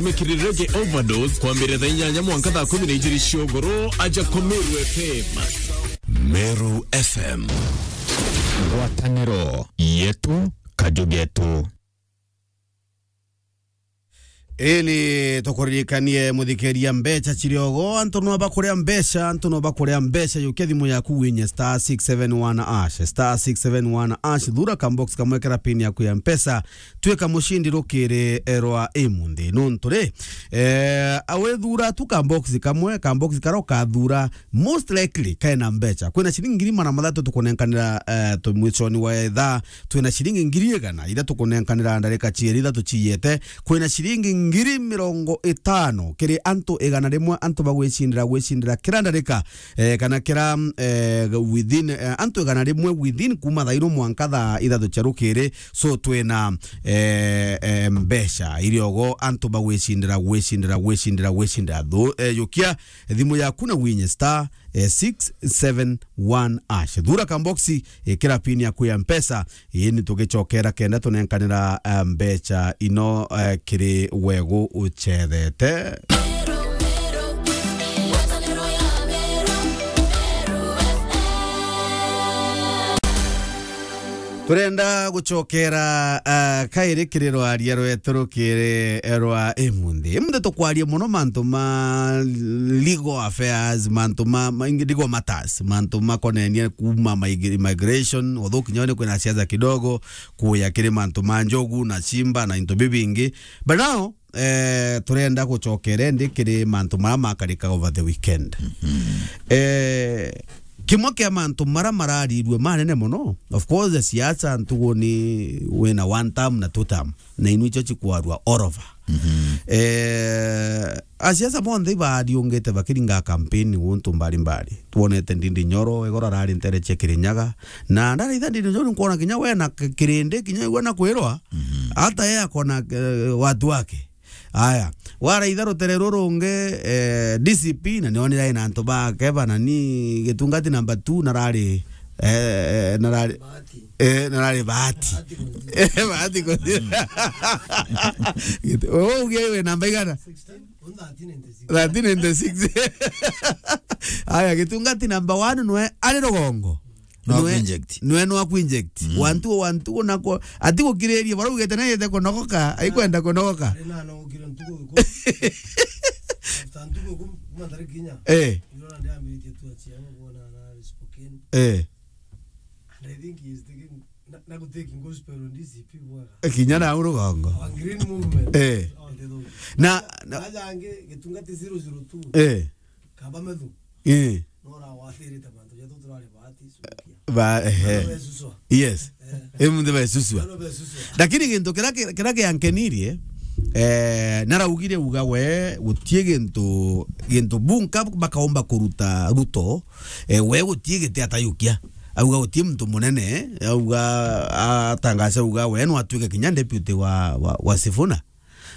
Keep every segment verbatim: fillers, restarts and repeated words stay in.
Mekiri Reggae Overdose kwambĩrĩria thaa inyanya mwanka thaa kumi na igĩrĩ cia ũgũrũ, aja kwa Meru F M. Meru F M. Ngwatanĩro yetu, kaju getu. Ĩni tukuririkanie, muthikiria, mbeca ciri ogo, antu no bakuria mbeca, antu no bakuria mbeca. Yukia thimu yaku winye star six seven one hash, star six seven one hash, thura kambox kamwe kera pin yaku ya Mpesa, twika mucindi rukiri rwa imunthi. Nuntu ri, eh, awethura tu kambox kamwe, kambox kara ukathura, most likely kaina mbeca. Kwina ciringi ngiri magana mathatu tukunenkanira, eh, tu-, mwiconi wa ithaa, twina ciringi ngiri igana iria tukunenkanira ndarika cieri ithatu ciiyete. Kwina ciringi ngiri mirongo itano kiri antu igana rimwe, antu bagwicindira, gwicindira kira ndarika, eh, kana kira, eh, within, eh, antu igana rimwe within kuma thaa ino mwanka thaa ithatu cia rukiri. So twina, eh, eh, mbeca iri ogo, antu bagwicindira, gwicindira, gwicindira, gwicindira. Thu-, eh, yukia thimu yaku na winye star, eh, six seven one hash. Thura kamboxi, eh, kira pin yaku ya Mpesa, eh, ni tugicokera kenda tunenkanira, eh, mbeca ino, eh, kiri wegu uchethete. Turenda gucokera, ah, kairi kiri rwaria rwetu rukiri rwa imunthi. Imunthi tukwaria muno mantu ma legal affairs, mantu ma, ma legal matters, mantu makonenie kuma mig-, immigration, although kinya ni kwina siasa kidogo, kuya kiri mantu ma njogu na simba na into bibingi. But now, eh, turenda gucokera indi kiri mantu mara makarika over the weekend. Mhm. Eh, kimwe kia mantu mara mararirue manene muno, of course, siasa ntugu ni wina one term na two term, na inu icio cikwarua all over. Mhm. Eh, asiasa bonthe ibariungite bakiringa campaign guntu mbari mbari. Twonete Ndindi Nyoro, igoro arari ntere cia Kirinyaga, na ndaraitha Ndindi Nyoro, nkwona kinya we na k-, kirindi, kinya we na kwirwa, mhm, hata yeye akona, eh, watu wake. Aya, waraitha rutere rurungi, eh, D C P, na nionire aina antu bake banani, gitungati number two, narari, eh, eh, narari, Bahati. Eh, narari Bahati. Bahati Kuthira. Eh, Bahati Kuthira. Git-, oh, uge we namba igana? Sixteen, on thirteen ninety-six. Thirteen ninety-six. Aya, gitungati number one nwe ari rugongo. No nwe, ku-inject. Nwe no aku-inject. Mm. Wantu, wantu nako, ati gukiririe, bara ugete na yete kunogoka, aikwenda kunogoka. Ari na no gukira ntuku iku. After ntuku iku, kuma ntariki inya. Eh. Ndio na ndiambiritie tu achia, kuona na Spokane. Eh. And I think he is taking, na, na gutaking gospel on D C P bwega. Kinya na rugongo. Our green movement. Eh. Oh, the Lord. Na, na aja angi, gitungati zero zero two. Eh. Kaba methu. Eh. No urawathirite mantu jatu turari Bahati, sukia. Ba, ehe. Besuswa. Yes. Eh. Emunthi besuswa. Besuswa. Lakini gintu kira ki-, kira kiankenirie, eh, naraugire uga we, gutie gintu, gintu bunka bakaomba kuruta Ruto, eh, we gutie giti atayukia. Auga gutie muntu munene, auga, atangaza uga we no atuike kinya deputy wa, wa, wa Sifuna.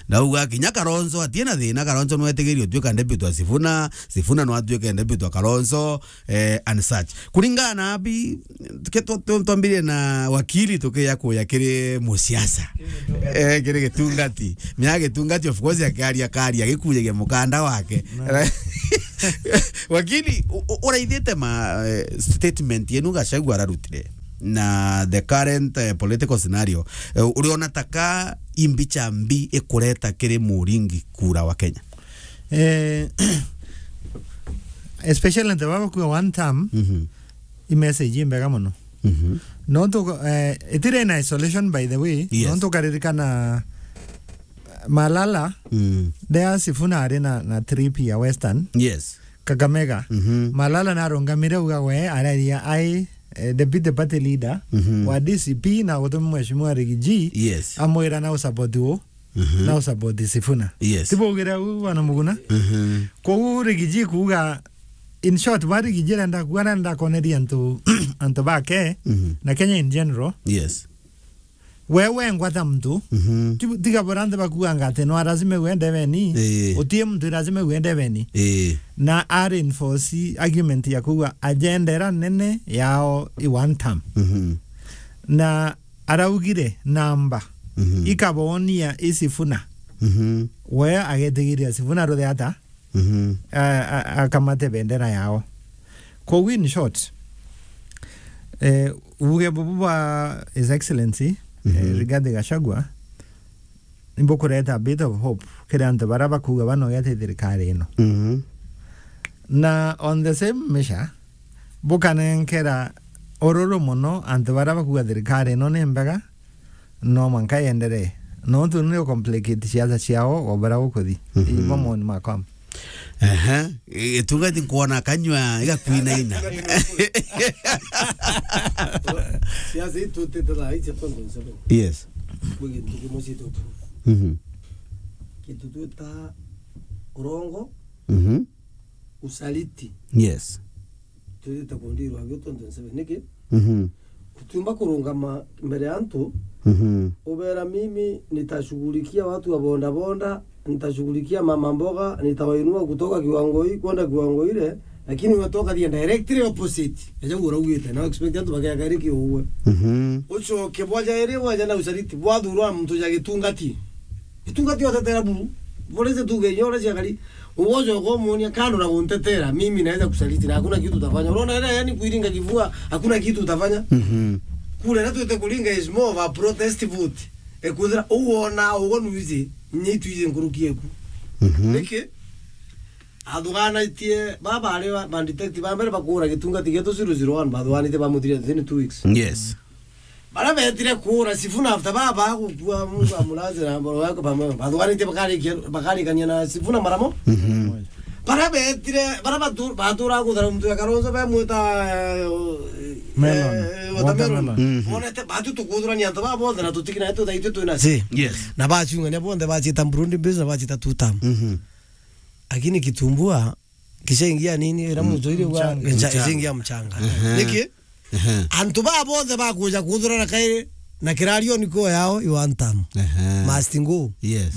Ndauga kinya Kalonzo atie na thina, Kalonzo no etigirie utuika deputy wa Sifuna, Sifuna no atuike deputy wa Kalonzo, eh, and such. Kuringana na abi, ke twa-, twa-, twambirie na wakili tukiya kuya kiri musiasa. Eh, kiri gitungati. Mia gitungati, of course, akiaria, akaria, agikujagia mukanda wake. Na wakili, u-, u-, uraithite ma, eh, statement yenu Gachagua ararutire na the current, eh, political scenario, eh, uriona taka imbicha mbi ikureta kiri muringi kura wa Kenya? Eh, especially nte baba kuwa one term, mhm, i message imbega muno. Mhm. Nontu, eh, itire na isolation, by the way. Yes. Nontu ukaririkana Malala, mm, there Sifuna ari na, na trip ya Western. Yes. Kakamega. Mhm. Malala narungamire uga we araria ai, eh, deputy party leader, mhm, wa D C P na gutuma mheshimiwa Rigiji, yes, amwira na usupport u, mhm, na usupport Sifuna. Yes. Tibo ugira u bwana Muguna? Mhm. Kou Rigiji kuuga, in short, ba Rigiji arenda kuuga arenda koneria antu, antu bake, mhm, na Kenya in general. Yes. We wengwa ta muntu, mhm, ti-, tiga bora nthe bakuanga ati no lazima uende beni, ii, utie muntu lazima uende beni. Ii. Na a reinforce argument ya kuuga agenda ira nene yao i one term. Mhm. Na araugire namba, mhm, ikabonia i Sifuna. Mhm. We agetigiria Sifuna ruthe ata? Mhm. A-, a-, akamate bendera yao. Koguo in short, eh, uge bubu bwa His Excellency, eh, Mhm. Rigathi Gachagua, nibukureta a bit of hope kiri antu baria bakuuga banogete thirikari ino. Mhm. Na on the same measure, bukanenkera ururu mono antu baria bakuuga thirikari ino ni mbega, no mwanka yenderee. Nontu ni complicate siasa ciao o baria gukuthi. Mhm. Ibo moni makwa. Ehe. Gitungati nkwona kanyua igakwinaina. Siasa itutite thaa ici twenty twenty-seven. Yes. Kwi gintu kimwe citutu. Mhm. Kintu twita urongo, Mhm. usaliti. Yes. Twithite kundirwa agio twenty twenty-seven. Niki? Mhm. Utiumba kurungama mbere ya antu, Mhm. ubera, "Mimi nitashughulikia watu wa bodaboda, nitashughulikia mama mboga, nitawainua kutoka kiwango hii kwenda kiwango ile," lakini we toka the directly opposite. Eja uraugite, na expect antu bageaka iri kiuwe. Mhm. Ucoke bwaja iri, waja na usaliti, bwathurwa muntu ja gitungati. Gitungati otetera buru. Bore ze tuge nyore cia kari. Uwojo ukomuonia kando na kuntetera, mimi naweza kusaliti na hakuna kitu utafanya. Unaona ile, yani, kuiringa kifua, hakuna kitu utafanya. Mhm. Kule na tuite kuringa is more of a protest vote. Ekwithira uona ugo nuizi, nyi tuize nkuruki eku. Mhm. Niki? Athuganitie, baba ari ba, ba detective ba mbere bakura gitungati gietu zero zero one, bathuganitie bamuthiria within two weeks. Yes. Baria betire kuura Sifuna after baba gukua, Mungu amulaze na mboro yako pamoja. Bathuganitie bakarikia, bakarikania na Sifuna maramo. Mhm. Baria betire, baria batu-, batura kuthara muntu ya Kalonzo bemwita, eh, Melon. Eh, watermelon. Watermelon. Mhm. Monete, batu tukuthurania antu baba bonthe na tutikina yetu thaitwe twina si. Yes. Na bachungania bonthe bachita Burundi Base na bachita tutam. Mhm. Lakini kitumbua, kishaingia nini, ira Mm. mutoire wa, mchanga. Kisha-, kishaingia mchanga. Ehe. Niki? Ehe. Antu ba bonthe bakuja kuthurana kairi, na kirario niko yao, you want them. Ehe. Must go. Yes.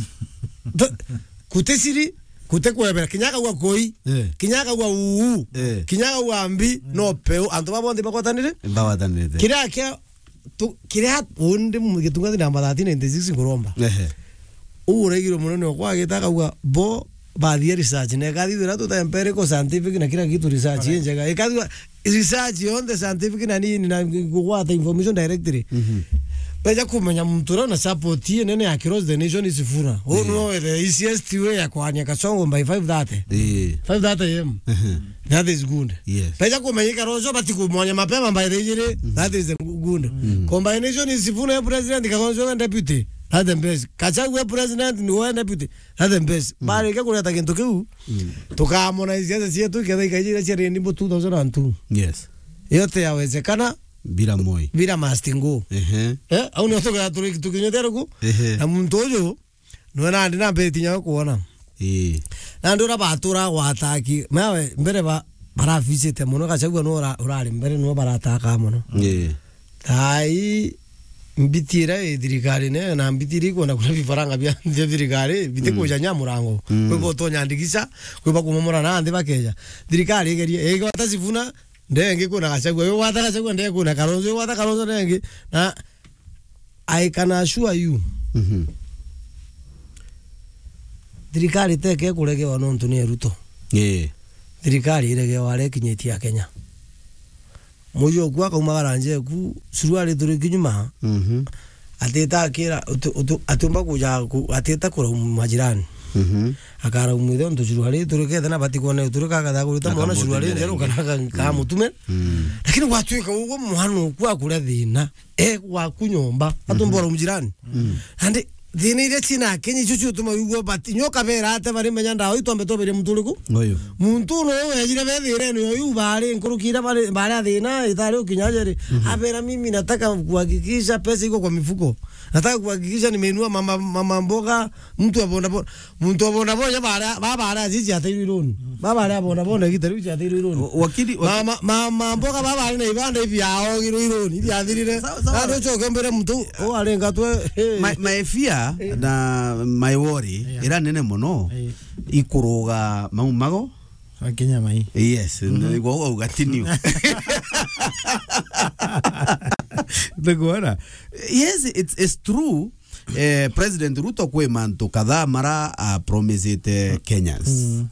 Kute siri, kute kwebera, kinya akauga koi, eh, kinya akauga uu, eh, kinya akauga mbi, mm, no peu, antu ba bonthe bagwatanire? Bagwatanirite. Kiria kia, tu, kiria undi mu-, gitungati namba thirteen ninety-six nguromba. Ehe. Uu uraigirwe munene okwa agita akauga bo bathia research, na ikathithira tuta empirical scientific na kila kitu research, correct, injega. Ikathithira research yonthe scientific na nini na kugwata information directly. Mhm. Beja kumenya muntu uria una support inene across the nation is Sifuna. Uu, eh, no the easiest way ya kwania Kasongo by five thirty. Eh. Five thirty A M. Mhm. That is good. Yes. Beja kumenya Kalonzo batikumwanya mapema by the ijiri. Mhm. That is the good. Mhm. Combination is Sifuna ya president, Kalonzo ya deputy. That's the best. Gachagua ya president ni wa deputy. That's the best. Mm. Bareke kureta gintu kiu, mm, tukamona siasa cietu iketha ikaija iria ciari nimbo two thousand and two. Yes. Yote yawezekana. Bila Moi. Bila must go. Ehe. Eh, au nio tuga turi tukinyothera ku. Ehe. Na muntu uyu, nwe nandi na mbere tinya kuona. Ii. Nandi ura batura gwataki. Mawe mbere ba, barabicite muno, Gachagua no ura-, urari mbere no barataka muno. Ii. Thaa ii mbiti iria i thirikari ne, na mbiti iria ikwenda kuria bifaranga bia, bia thirikari, biti, mm, kuja nya murango. Mm. Kwi bo tonya ndikisa, kwi ba kumomora na nthi bakeja. Thirikari igerie, igwata Sifuna, ndengi kuna Gachagua, igwata Gachagua, ndengi kuna Kalonzo, igwata Kalonzo, ndengi. Na I can assure you, mhm, thirikari teke kuregewa nontu ni Ruto. Ii. Thirikari iregewa aria ikinyitie Akenya. Muji oku akaumagara nja eku, suruari turi kinyuma, mhm, atita akira, utu-, utu-, atiumba kuja ku-, atita kurauma majirani. Mhm. Akarauma ithe untu suruari turi ketha na bati kuona turi kagatha kurita mwana suruari njeru kana ka-, mhm, kamutume. Mm. Lakini gwatuika uguo mwana oku akuria thina, e gwaku nyomba, atumba, mhm, urauma jirani. Mm. Andi thina iria ciina Akenya icio ciutuma wigua bati, nyo kabera ate bari menya ndawa itwambe tweberia muntu uriku? Uyu. Muntu no wejire be thirene uyu bari nkuruki iria bari, bari a thina itari ukinya jeri. Mhm. Abera, "Mimi nataka kuhakikisha pesa iko kwa mifuko. Nataka kuhakikisha nimeinua mama, mama mboga, mtu wa boda boda." Muntu wa boda boda bara, ba bara jiji ateirwe ironi. Ba bara boda boda gitari jiji ateirwe ironi. Wa-, wakili, waki- Mama, mama mboga ba bara na ibanda ibi aogirwe ironi, ibi athirire. Sawa, sawa. Nandi ucoke mbere muntu, o arenga twe, eh. My, my fear, eh, na my worry, yeah, ira nene muno, eh, ikuruga mau mago. Akinya mai. Yes, mhm, niguo ugatiniu. Niguona? Yes, it's, it's true. eh, President Ruto kwi mantu kadhaa mara, ah, promisite Kenyans. Mm.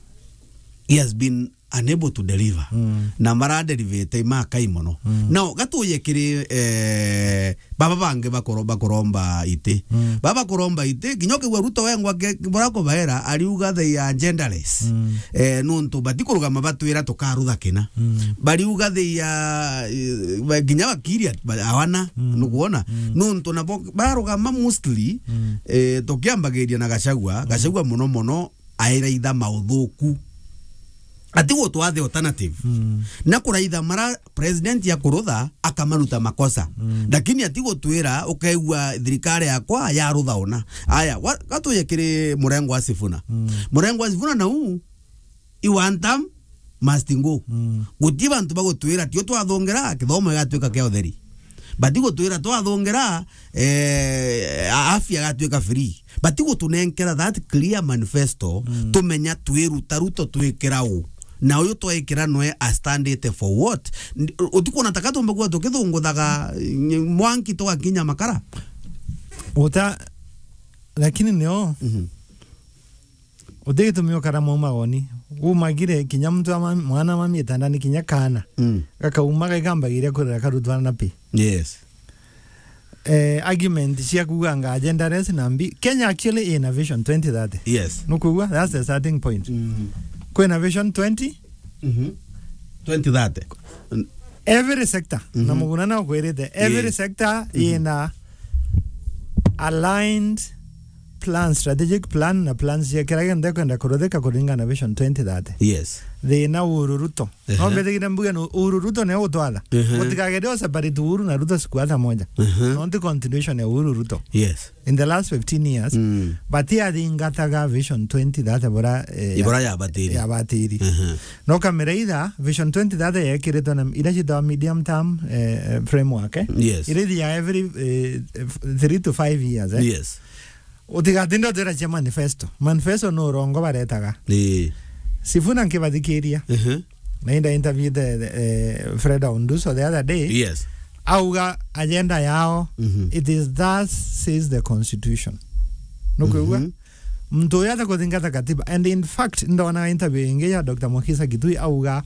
He has been unable to deliver. Mm. Na mara derivate imakai mono. Mm. Now, gatuye kiri, eh, baba bangi bakoro-, bakoromba iti. Mm. Baba koromba iti, kinya ukigua Ruto wengwa ke-, bora kubaera, ariuga they are genderless. Mm. Eh, nuntu batikurugama batwira tukarutha kina. Mm. Bariuga they are, eh, ba-, kinya wakiri at-, ba-, awana, mm, nukuona? Mm. Nuntu nabo barugama mostly, mm, eh, tukiambagiria na Gachagua, mm, Gachagua mono mono, airaitha mauthuku. Ati gutwathe alternative. Mm. Na kuraitha mara president ya kurutha, akamaruta makosa. Mm. Lakini ati gutwira, ukaigua thirikari yakwa yarutha ona. Aya, wa-, gatuye kiri murengo wa Sifuna. Mm. Murengo wa Sifuna na uu, i one term must go. Mm. Guti bantu bagutwira, tio twathungira, kithomo gigatuika kia utheri. Bati gutwira twathungira, eh, a-, afya gatuika free. Bati gutunenkera that clear manifesto, mm, tumenya twiruta Ruto twikira u. Na uyu twaikira nwe a stand it for what? N-, utikuona taka tumbe kuwa tukithunguthaga, ny-, mwanki tugakinya makara? Uta-, lakini nio, mhm. Uti gitumi ukara maumagoni. Umagire kinya muntu wa mam-, mwana wa mami itandani kinya kaana. Mm. Gakauma gaikambagiria kurira karutwa na pi. Yes. Eh, argument cia kuuganga agendaress na mbi. Kenya actually ina vision twenty thirty. Yes. Nukwigua? That's the starting point. Mm. Kwina vision twenty. Mhm. Twenty thirty. Every sector, na, mhm, Muguna na ukwirite, every, eh, sector, mhm, ina aligned plan, strategic plan na plans cia kira gionthe kwenda kuruthika kuringana na Vision twenty thirty. Yes. Thina Uhuru Ruto. Ehe. No mbethigire mbuge no Uhuru Ruto nio utwatha. Ehe. Utikagere o separate Uhuru na Ruto siku hata moja. Ehe. No nti continuation ya Uhuru Ruto. Yes. In the last fifteen years, mm, batiathingataga Vision twenty thirty bora, eh, ibora ya batiri. Ya batiri. Ehe. No kamera itha, Vision twenty thirty yekiritwe na ira ciitagwa medium term, eh, eh, framework, eh? Yes. Ira ithiaga every, eh, f-, three to five years, eh? Yes. Utigatinda utwira cia manifesto. Manifesto no urongo baretaga. Ii. Sifuna nkibathikiria. Mhm. Na inda interview the, the, eh, Fred Aunduso the other day. Yes. Auga agenda yao, mhm, it is thus says the constitution. Nukwigua? Mhm. Muntu uyu atakuthingata katiba. And in fact, ndona interview ingi ya Doctor Mukisa Kitui auga,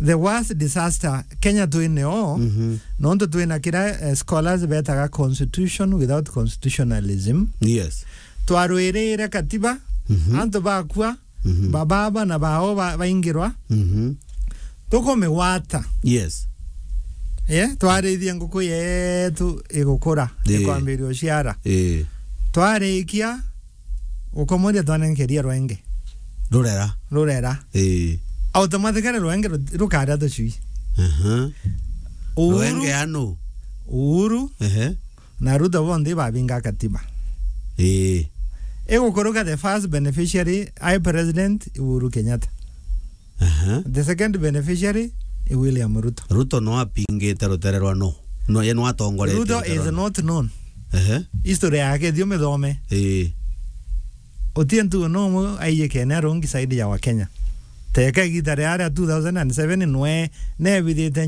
the worst disaster Kenya twineo, mhm, nontu twina kira, eh, scholars betaga constitution without constitutionalism. Yes. Twarwirire katiba, mhm, antu bakua, mhm, bababa na bao ba-, baingirwa. Mhm. Tukumigwata. Yes. Eh, twarithia nguku yetu igukura, ii, ikwambiria uciara. Ii. Twarikia gukomoria twanenkeria rwenge. Rurera. Rurera. Ii. Automatically rwenge ru-, rukaria tucui. Aha. Uhuru, rwenge anu. Uhuru. Ehe. Na Ruto bonthe babinga katiba. Ii. Igukuruka the first beneficiary, I President Uhuru Kenyatta. Aha. The second beneficiary i William Ruto. Ruto no apingite rutere rwa no. No, ye no atongoretie rutere rwa no. Ruto is not known. Ehe. History yake thio mithome. Ii. Utie ntu no mu aiyikene arungi side ya wa Kenya. Teka igita ria ria two thousand and seven nwe nebithite